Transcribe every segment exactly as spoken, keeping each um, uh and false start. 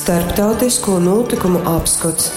Starptautisko notikumu apskots.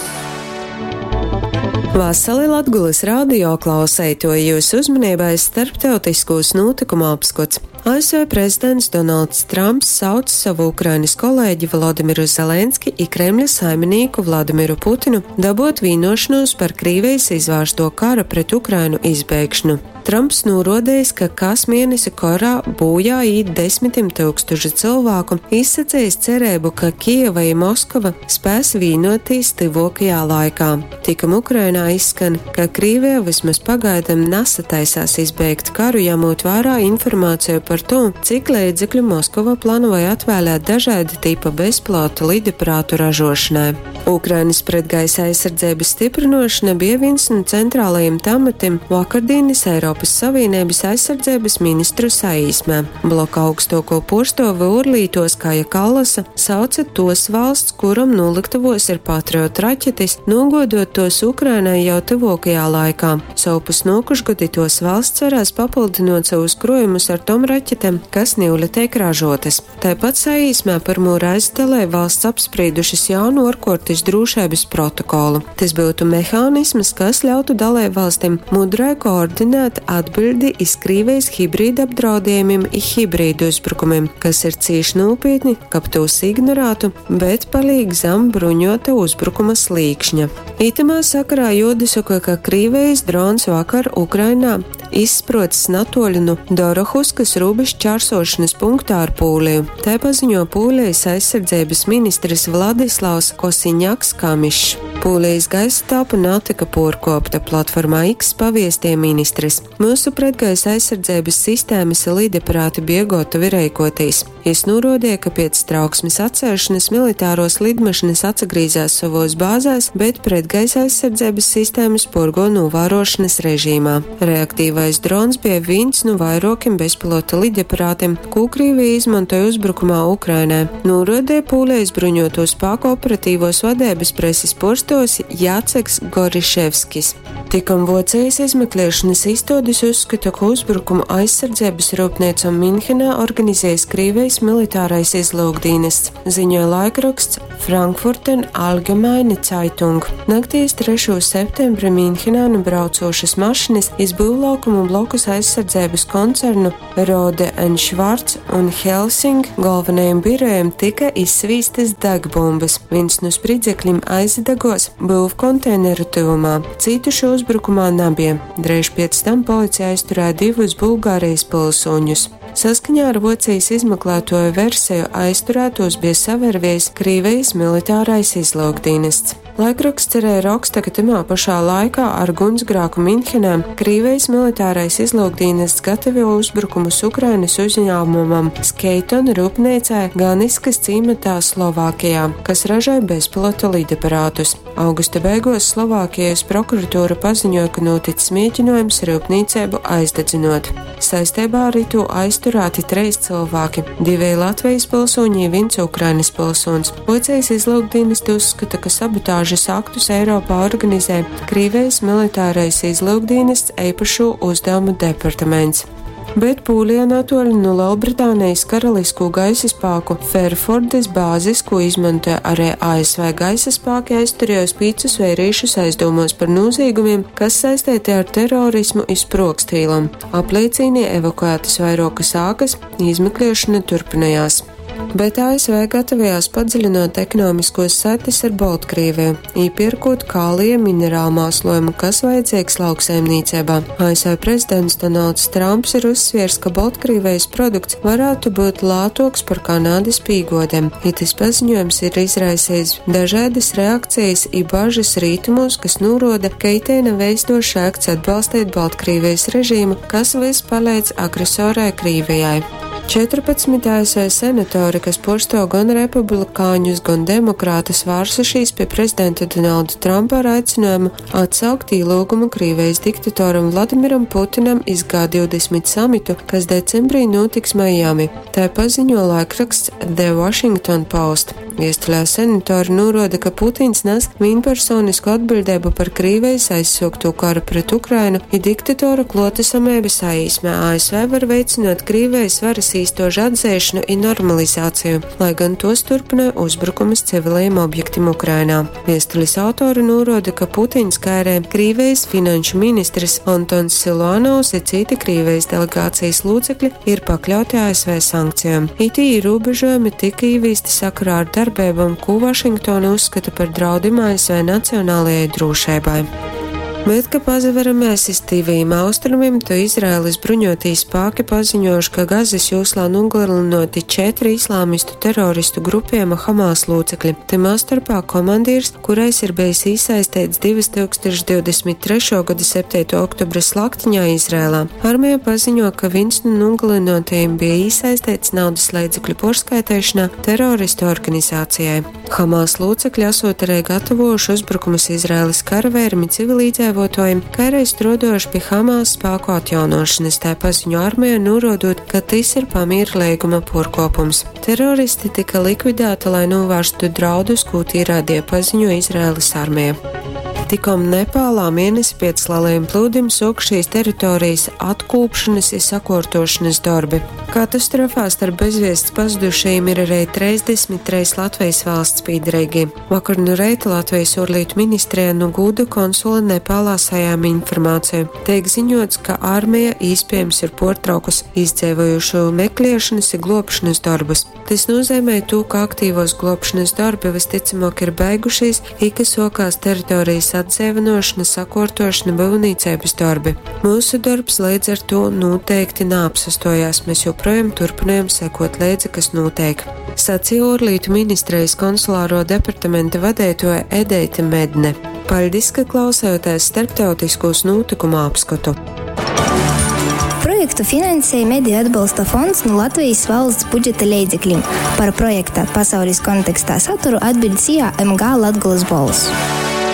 Vasali Latgulas radio klauseitoji, jūsu uzmanībai starptautiskos notikumu apskots. A S V prezidents Donalds Trumps sauc savu Ukrainas kolēģi Vladimiru Zelenski i Kremļa saiminīku Vladimiru Putinu dabot vienošanos par Krīvijas izvērsto kara pret Ukrainu izbeigšanu. Trumps norodējis, ka kas mēnesi karā bojā īt desmitim tūkstoši cilvēku, izsacījis cerību, ka Kijeva i Moskava spēs vienoties tuvākajā laikā. Tikam Ukrainā izskan, ka Krīvija vismaz pagaidām nesataisās izbeigt karu, ņemot vērā informāciju par to, cik līdzekļu Moskova plānoja atvēlēt dažāda tipa bezpilota lidaparātu ražošanai. Ukrainas pretgaisa aizsardzības stiprinošana bija viens no centrālajiem tematiem vakardienas Eiropas Savienības aizsardzības ministru saīsmē. Bloka augstāko porstovi Urlītos Kaja Kallasa sauca tos valsts, kuram noliktavos ir Patriot raķetes, nogodot tos Ukrainai jau tuvākajā laikā. Sovpus nokušgadi tos valsts varēs papildinot savus krojumus ar tom raķetēm, kas niule tiek ražotas. Tāpat saīsmē pirmo reizi dalību valsts apspriedušas jaunu ārkārtas drošības protokolu. Tas būtu mehānisms, kas ļautu dalību valstīm mudrai koordinēt atbildi iz Krīvijas hibrīda apdraudējumiem i hibrīdu uzbrukumiem, kas ir cīši nopietni, kab tos ignorētu, bet palīk zem bruņota uzbrukuma slīkšņa. Itamā sakarā juodasaka, ka Krīvijas drons vakar Ukrainā izsprocis natoļu nu Dorohuskas robežu čārsošanas punktā ar Pūliju. Tā paziņo Pūlijas aizsardzības ministrs Vladislavs Kosiņaks Kamišs. Pūlijas gaisa telpa natika porkopta, platformā X paviestie ministrs. Mūsu pretgaisa aizsardzības sistēmas lidaparāti bija gatavi reikotīs. Jis norodīja, ka pēc trauksmes atcelšanas militāros lidmašīnas atsagrīzās savos bāzēs, bet pretgaisa aizsardzības sistēmas porgo novērošanas režīmā. Reaktīvais drons bija viens no vairākiem bezpilota lidaparātiem, ko Krievija izmantoja uzbrukumā Ukrainai. Norodīja Pūlijas bruņoto spēku operatīvos vadības preses porstos Jaceks Goriševskis. Tikam Vocijas izmeklēšanas izstādes uzskata, ka uzbrukumu aizsardzības rūpniecam Minhenā organizējis Krievijas militārais izlūkdienests, ziņoja laikraksts Frankfurter Allgemeine Zeitung. Naktīs trešo septembri Minhenā nu braucošas mašinas iz būvlaukumu blokus aizsardzības koncernu Rohde and Schwarz un Helsing galvenajiem birojiem tika izsvīstas degbumbas. Viens no spridzekļiem aizdegos būvkonteineru tuvumā. Cītušu uzbrukumā nebija. Dreiž pēc tam policija aizturēja divus Bulgārijas pilsoņus. Saskaņā ar Vocijas izmeklētoju versiju aizturētos bija savervies Krīvijas militārais izlūkdienests. Laikraksts arī raksta, ka tamā pašā laikā ar gunsgrāku Minhenē Krīvijas militārais izlūkdienests gatavo uzbrukumus Ukrainas uzņēmumam Skeiton rūpnīcai Ganiskas cīmatā Slovākijā, kas ražoja bezpilota lidaparātus. Augusta beigās Slovākijas prokuratūra paziņoja, ka noticis mēģinājums rūpnīcību aizdedzinot. Saistībā ar to aizturēti trīs cilvēki - divi Latvijas pilsoņi, viens Ukrainas pilsonis. Policijas izlūkdienesti uzskata, ka sabotāžas aktus Eiropā organizē Krievijas militārais izlūkdienests īpašo uzdevumu departaments. Bet Pūlijā natoļi no Lielbritānijas karalisko gaisa spēku Fairfordes bāzes, ko izmantoja arī A S V gaisa spēki, aizturējos pīcus vērīšus aizdomos par noziegumiem, kas saistīti ar terorismu i sprogstīlam. Apliecīnī evakuētas vairākas ākas, izmeklēšana turpinājās. Bet A S V gatavojās padziļinot ekonomiskos saites ar Baltkrieviju, iepirkot kālija minerālu mēslojumu, kas vajadzīgs lauksaimniecībā. A S V prezidents Donalds Trumps ir uzsviers, ka Baltkrievijas produkts varētu būt lētāks par Kanādas pīgodiem. Itis paziņojums ir izraisījis dažādas reakcijas i bažas rītumos, kas noroda, ka itei nav eistošs akts atbalstīt Baltkrievijas režīmu, kas vis palīdz agresorai Krievijai. četrpadsmit A S V senatori, kas porsto gan republikāņus, gan demokrātus, vārsušies pie prezidenta Donalda Trumpa ar aicinājumu atsaukt ielūgumu Krievijas diktatoram Vladimiram Putinam iz G divdesmit samitu, kas decembrī notiks Miami. Tā paziņo laikraksts The Washington Post. Viestulē senatori nūruoda, ka Putins nas vīnpersonisku atbiļdeibu par Krīvejis aizsuoktū karu pret Ukrainu i diktatora kluotasameiba saīsmē A S V var veicynuot Krīvejis varys īstuožu atzeišonu i normalizāciju, lai gan tuos turpynoj uzbrukumus civilajim objektim Ukrainā. Viestulis autori nūruoda, ka Putins, kai arī Krīvejis finanšu ministrs Antons Siluanovs i cyti Krīvejis delegācijas lūcekļi ir pakļauti A S V sankcijom. Itī ierobežojumi tika īvīsti sakarā ar darbeibom, ko Vašingtona uzskata par draudim A S V nacionālajai drūšeibai. Bet, ka pazaveramies iz Tīvajim Austrumim, to Izraēlas bruņotī spāki paziņojuši, ka Gazas joslā nogalināti četri islāmistu teroristu grupējuma Hamas locekļi. Tymā starpā komandīrs, kurais ir bijis iesaistīts divtūkstoš divdesmit trešo gada septītā oktobra slaktiņā Izrēlā. Armija paziņo, ka viens no nogalinātajiem bija iesaistīts naudas līdzekļu porskaitēšanā teroristu organizācijai. Hamas locekļi esot arī gatavojuši uzbrukumus Izraēlas karavīrim un civilīdzīvotājiem, kā arī strādājuši pie Hamas spēku atjaunošanas, tā paziņo armija, norādot, ka tas ir pamiera līguma porkopums. Teroristi tika likvidēti, lai novērstu draudus, ko tīrādie paziņo Izraēlas armija. Tikom Nepālā mēnesi pēc lielajiem plūdim suokšīs teritorijas atkūpšanas i sakuortošanas dorbi. Katastrofā starp bezviests pazudušajiem ir arī trīsdesmit trīs Latvijas valsts pīdereigi. Vakar nu reita Latvijas ārlietu ministrijā nu gūda konsula Nepālā sajāma informāciju. Tiek ziņots, ka armija iespējams ir portraukus izdzēvojušo meklēšanas i globšanas darbus. Tas nozīmē to, ka aktīvos globšanas darbi visticamāk ir beigušies, i ka sokās teritorijas atdzīvināšana, sakortošana, būvniecības darbi. Mūsu darbs līdz ar to noteikti neapsastojās, mēs joprojām turpinājam sekot līdzi, kas notiek. Sacīja Ārlietu ministrijas konsulāro departamenta vadītāja Edeite Medne. Paļdis, ka klausāties starptautiskos notikumu apskatu. Projektu finansēja Mediju atbalsta fonds no Latvijas valsts budžeta leidzekļiem. Par projekta pasaules kontekstā saturu atbild S I A M G Latgolas Bolss.